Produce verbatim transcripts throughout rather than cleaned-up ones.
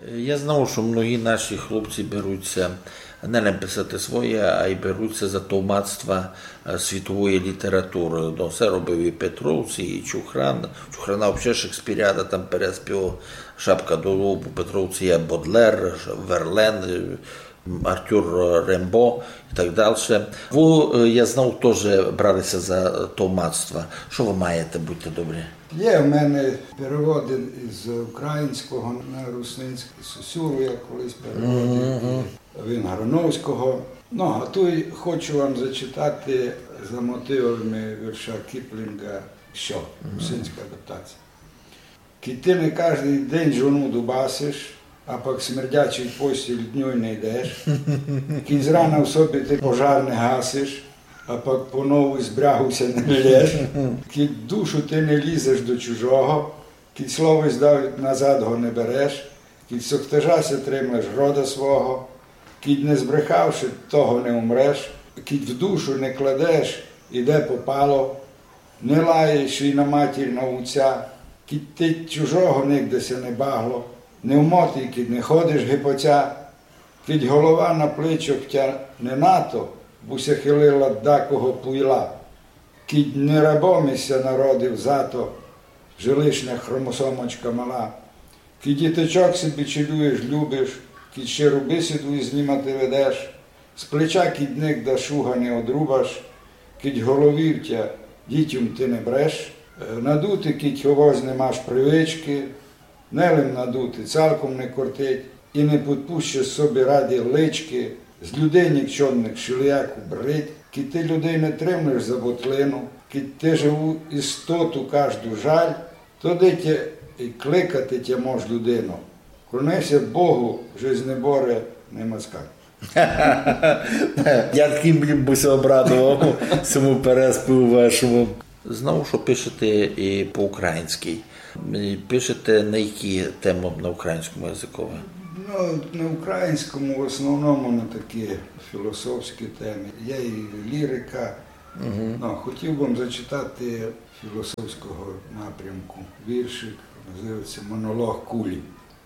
Я знав, што многі наші хлопці беруть ся не лем писати своє, а й беруть ся за товмацтва, е, світової літературы. Но, се робив і Петровці, і Чухран. Чухрана вообще Шекспіріада там переспівав, шапка до лобу. Петровці є Бодлер, Верлен, е, Артюр Рембо і так дальше. Вы, е, я знав, тоже брали ся за товмацтва. Што вы маєте, будьте добрі? Є в мене переводи з українського на русинський. Сосюру я колись переводив, і він Грановського. Ну, а туй хочу вам зачитати за мотивами вірша Кіплінга «Що?», русинська адаптація. Кідь ти не каждый день жону дубасиш, а пак смердячий постіль днюй не йдеш, кідь зрана в собі ти пожар не гасиш, а пак по нову з брягу ся не ллєш, кідь душу ти не лізеш до чужого, кідь слово й здав назад го не береш, кідь сохтежа ся тримлеш рода свого, кідь не збрехавши того не умреш, кідь в душу не кладеш, іде попало, не лаєш і на матір, на уця, кідь ти чужого нигде ся не багло, не в моті, кідь не ходиш гипоця, кідь голова на плечох тя не нато, бу ся хилила дакого пуйла, кідь не рабом ися народив зато, же лишня хромосомочка мала, кідь діточок си бичелюєш, любиш, кідь ще рубисиду із нима ти ведеш, з плеча кідь нигда шуга не одрубаш, кідь головів тя дітьом ти не бреш, е, надути кідь овось не маш привички, не лим надути, цалком не кортить, і не підпущеш собі раді лички, з людей нікчомних шилияку брить, кідь ти людей не тримлеш за ботлину, кідь ти живу істоту кажду жаль, то де тя і кликати тя мож людину. Клони ся Богу, же з неборе не мацкай. Як їм бы ся обрадовав сьому переспіву вашому. Знав, што пишете і по-українськи. І пишете на які темы на українському языкови? Ну, на українському в основному на такі філософські темы. Є і лірика. Ну, хотів бы вам зачитати філософського напрямку віршик, називається «Монолог кулі».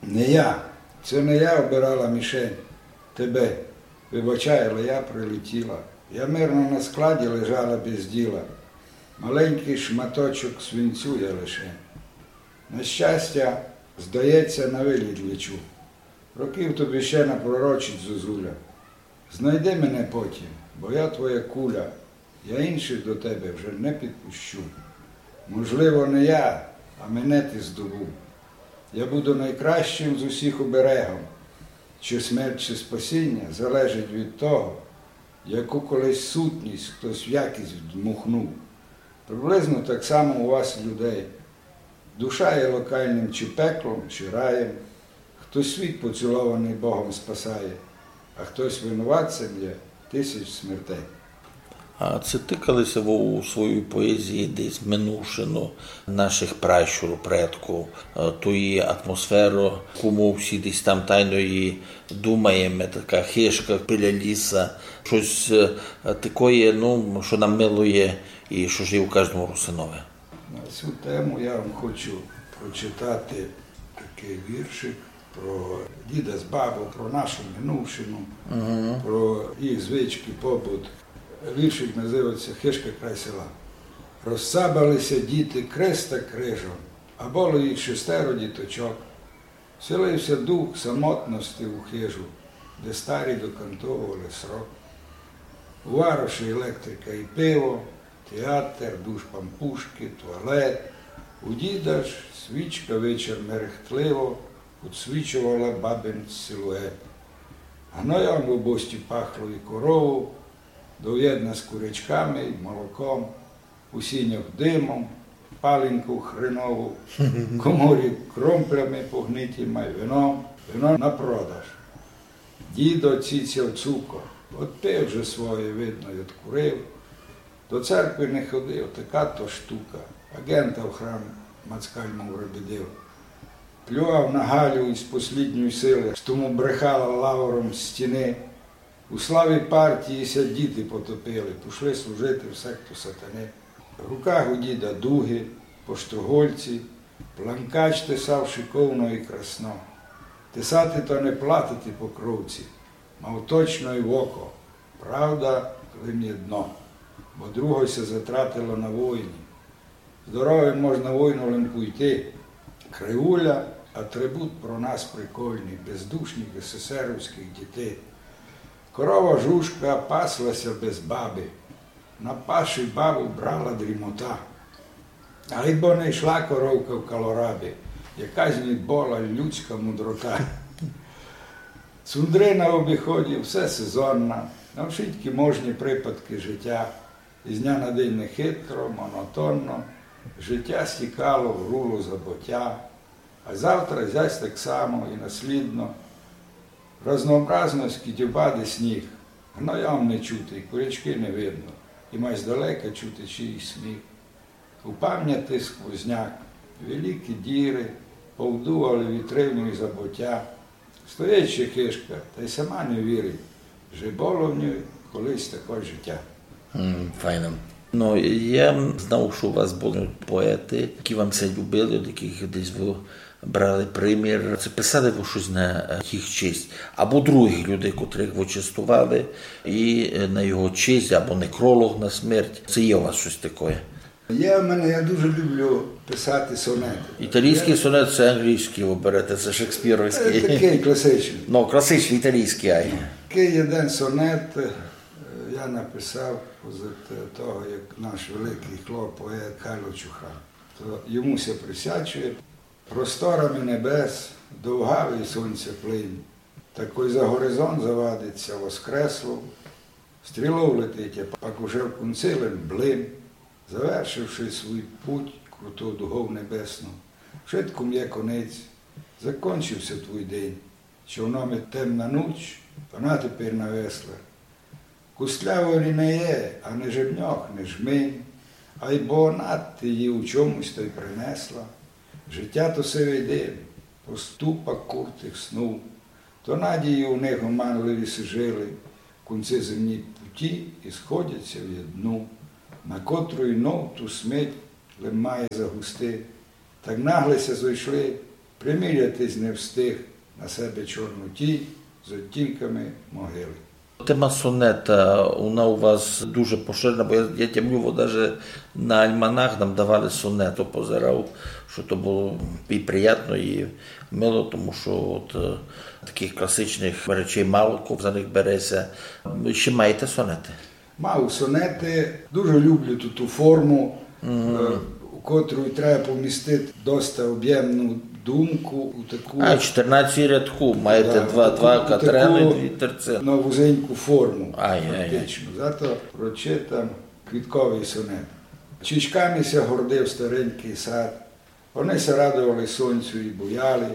Не я, це не я обирала мішень, тебе. Вибачай, але я прилетіла. Я мирно на складі лежала без діла. Маленький шматочок свинцю я лише. На щастя, здається, на виліт лечу. Років тобі ще напророчить зозуля. Знайди мене потім, бо я твоя куля, я інших до тебе вже не підпущу. Можливо, не я, а мене ти здобув. Я буду найкращим з усіх оберегом. Чи смерть, чи спасіння залежить від того, яку колись сутність хтось в якість вдмухнув. Приблизно так само у вас, людей. Душа є локальним чи пеклом, чи раєм. Хтось світ поцілований Богом спасає, а хтось винуватцем є тисяч смертей. А ци тыкали ся вы у своїй поезії десь минувшину наших пращурів, предків, е, тої атмосферы, яку мы всі десь там тайно її думаєме, така хижка біля ліса, штось, е, такоє, ну, што нам мило є і што ж є у каждому русинови? На цю тему я вам хочу прочитати такий віршик про діда з бабу, про нашу минувшину, про їх звички, побут. Віршик називається «Хижка край села». Розцабали ся діти крест та крижом, а было їх шестеро діточок. Вселив ся дух самотности у хижу, де старі докантовували срок. У вароші електрика і пиво, театр, душ пампушки, туалет. У діда ж свічка вечір мерехтливо удсвічувала бабин силует. Гноєм в обості пахло і корову, доєдна з курячками і молоком. У сінях димом, палинку хренову, коморі кромплями погниті, май вином, вино на продаж. Дідо цицяв цукор, от пив же своє, видно, й откурив. До церкви не ходив, така то штука, агента в храм мацкаль му врядив. Плював на Галю із послідньої сили, што му брехала лавром з стіни. У славі партії ся діти потопили, пішли служити в секту сатани. В руках у діда дуги, поштогольці, планкач тесав шиковно і красно. Тесати то не платити покровці, мав точно й в око. Правда, лим єдно, бо другой ся затратила на войні. Здоровим можна войну лим пуйти. Кривуля — атрибут про нас прикольный, бездушных есесеровськых дітей. Корова Жужка пасла ся без бабы, на паші бабу брала дрімота. Айбо не йшла коровка в калорабі, якась в ній была людська мудрота. Цундры на обіході все сезонна, на вшыткі можні припадкы житя. Із дня на день нехитро, монотонно, житя стікало в руло забытя, а завтра зась так само і наслідно. Разнообразность кідьобады сніг, гнойом не чути, курячкы не видно, і май здалека чути чийсь сміх. У памняти сквозняк, великі діры повдували вітрину і забытя. Стоїть ще хижка, та й сама не вірить, же было в ній колись таке житя. М, файно. Ну, я знав, што у вас были поеты, які вам ся любили, од якых десь вы брали примір. Ци писали вы штось на, е, їх честь? Або другых людей, котрых вы честовали, і, е, на його честь, або некролог на смерть. Ци є у вас штось такоє? Є в мене, я дуже люблю писати сонети. Італійськый сонет — се англійськый, вы берете, се шекспіровськый. Е, такый класичный. Ну, класичный, італійськый, ай. Такый єден сонет, е, я написав поза того, як наш великый хлоп, поет Карло Чухран. То йому ся присвячує. Просторами небес довгавый сонця плин, та кой за горизонт завадить ся воскресло, стрілов летить, а пак уже в кунци лем блин, завершивши свій путь круту дугов небесну. Вшыткому є конець, закончив ся твій день, човном темна нуч, вона тепер на веслах. Кустляво лі не є, а не жебньох, не жмень, айбо она ти її у чомусь тай принесла. Житя то сивый дим, поступок куртых снув, то надії у них оманливі сижилы, в кунци земній путі і сходять ся в єдну, на котру й нов ту смерть лем має загусти. Так нагле ся зойшли, примірятись не встиг на себе чорну тінь з оттінками могили. Тема сонета, вона у вас дуже поширена, бо я, я тямлю, бо даже на альманах нам давали сонет, то позирав, што то было і приятно, і мило, тому што от, е, такых класичных речей мало ко за них бере ся. Ще маєте сонеты? Мав сонеты, дуже люблю ту, ту форму, е, у котру треба помістити доста обємну думку у таку... А, чотирнадцять рядків, маєте два, два катрены, дві терцины. На вузеньку форму, ай, ай, ай, фактично. Зато прочитам квітковый сонет. Чічками ся гордив старенькый сад, они ся радовали сонцю і буяли,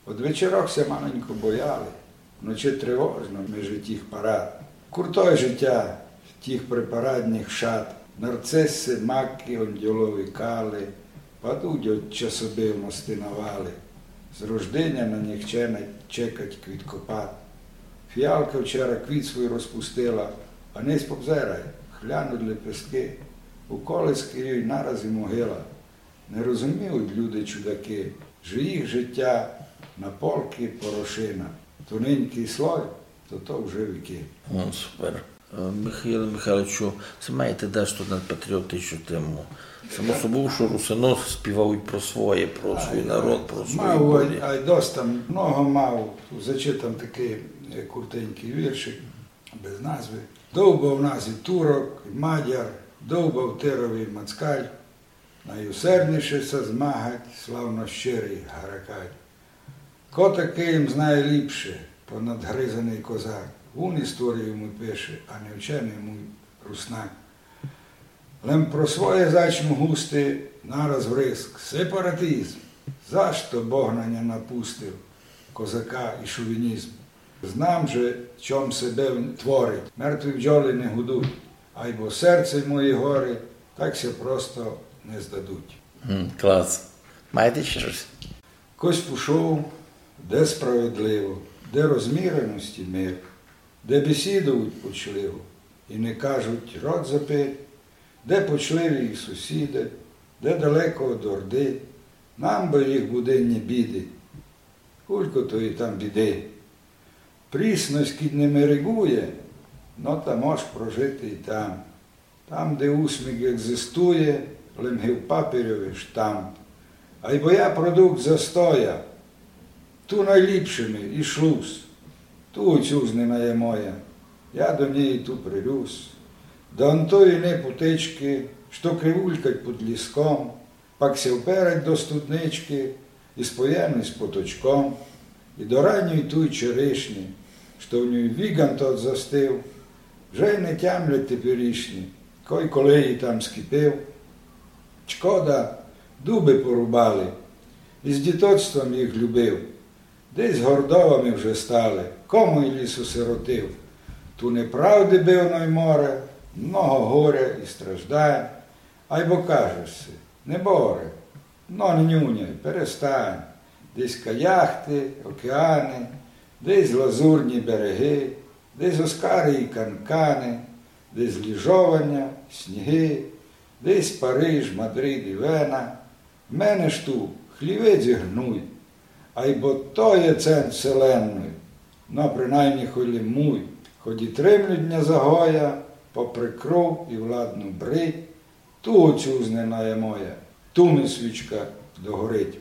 од вечерох ся маленько бояли, вночи тривожно межи тіх парад. Куртоє житя тіх припарадніх шат, нарциси, маки, ондьолові кали падуть од часобивности на вали. З рождиня на них чекать квіткопад. Фіалка вчера квіт свій розпустила, а нись, позирай, хлянуть лепесткы, у колиски їй нараз і могила. Не розуміють люди-чудакы, же їх житя на полки порошина. Тоненькый слой, то то вже вікы. О, супер. Е, Михайле Михайловичу, ци маєте дашто на патріотичну тему? Само собою, што русины співають про своє, про свій народ, про свої... Мав, ай, ай, доста, много мав. Зачитам такый, е, куртенькый віршик, без назви. Довбав нас і турок, і мадяр, довбав тирові москаль, найусердніше ся змагать славно щирый гаракаль. Ко такый їм знає ліпше, понадгризаный козак? Вун історію муй пише, а не вченый муй руснак. Лем про своє зачну густи, нараз вриск: сепаратизм! За што Бог на ня напустив козака і шовінізм? Знам же, чом себе творить, мертві бджолы не гудуть, айбо серце й мої горы так ся просто не здадуть. М, клас. Маєте ще щось? Кось пушов, де справедливо, де розміреность і мир, де бесідують почливо і не кажуть: рот запир, де почливі їх сусіды, де далеко од орды, нам бы їх буденні біды. Кулько тої там біды. Прісность кідь не мерегує, но та мож прожити й там. Там, де усмік екзистує, лем ги в папірьови штамп. Айбо я продукт застоя, ту найліпше ми і шлус. Ту оцюзнина є моя, я до неї ту прирюс. До антої не путечки, што кривулькать під ліском, пак ся вперать до студнички і споєм із поточком, і до ранньої туй черешні, што в нюй віґан тот застив, вже й не тямлять теперішні, кой коли її там скіпив. Шкода, дубы порубали, і з дітоцтвом їх любив. Десь гордовами вже стали, кому й ліс осиротив. Ту неправды бив, но й море, много горя і страждань. Айбо кажеш си, не боре, но не нюняй, перестань. Десь каяхты, океаны, десь лазурні береги, десь оскары і канканы, десь ліжованя, сніги, десь Париж, Мадрид і Вена. Мене ж ту хлівець і гнуй, айбо то є центр вселенной, но принаймні хой лем муй, хоть і тримлють ня за гоя, попри кров і владну брить, ту оцюзнина є моя, ту ми свічка догорить.